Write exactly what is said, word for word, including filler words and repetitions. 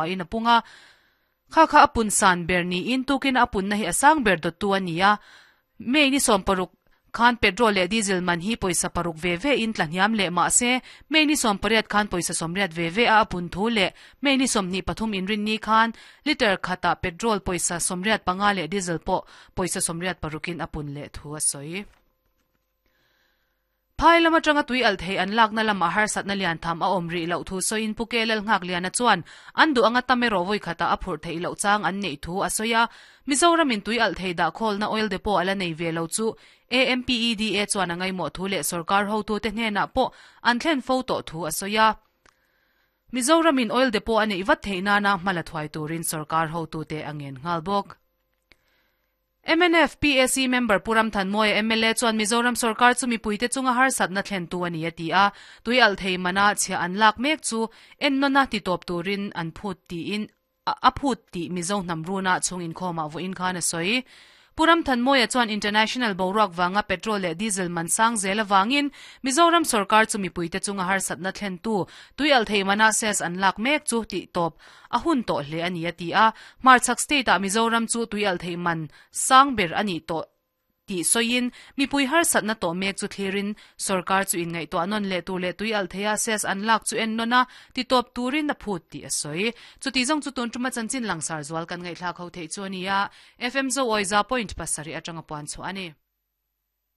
In a punga kha kha apun san ber ni in tukin apun na hi asang ber do tu ania. May ni som paruk khan petrol le diesel man hi poisa paruk ve ve in tlaniam le ma se May ni som pariat khan poisa somriat ve ve a apun thu le May ni som ni pathum in rin ni khan liter khata petrol poisa somriat panga le diesel po poisa somriat parukin apun le thu a soi. Phai lama tanga tui al thei an lak na lama har sat na lian tham a om ri lo thu so in pukelel ngak lian a chuan an du anga tamero voi khata a phur thei lo chang an nei thu a soya. Mizoram in tui al thei da khol na oil depot ala nei ve lo chu A M P E D A chuan angai mo thu le sarkar ho tu te hne na po an thlen fo to thu a soya. Mizoram in oil depot ani iwat theina na mala thwai turin sarkar ho tu te angen ngal bok. M N F P A C member Puram Thanmoy M L A chuan Mizoram sarkar chu mipuite chunga har satna thlen tu ani ati a tui al thei mana chhia an lak mek chu ennona ti top turin an phut ti in a phut ti Mizo hnamruna chung in khoma vo in khan a soi. Puram Thanmoy chuan international boruak wanga petrol le diesel man sang zela wangin Mizoram sarkar chu mipuite chunga har satna thlen tu tui al thei mana ses an lak mek chu ti top a hun to hle ani ati a Marchak state a Mizoram chu tui al thei man sang ber ani to ti soin mipui har satna to mek chu thlirin sarkar chu in ngai to anon le tu le tui al theia ses an lak chu en nona ti top turin na phut ti a soi chu ti jong chu tun tuma chanchin langsar zual kan ngai thla kho thei chu ania F M zo oiza point pasari atanga puan chu ani.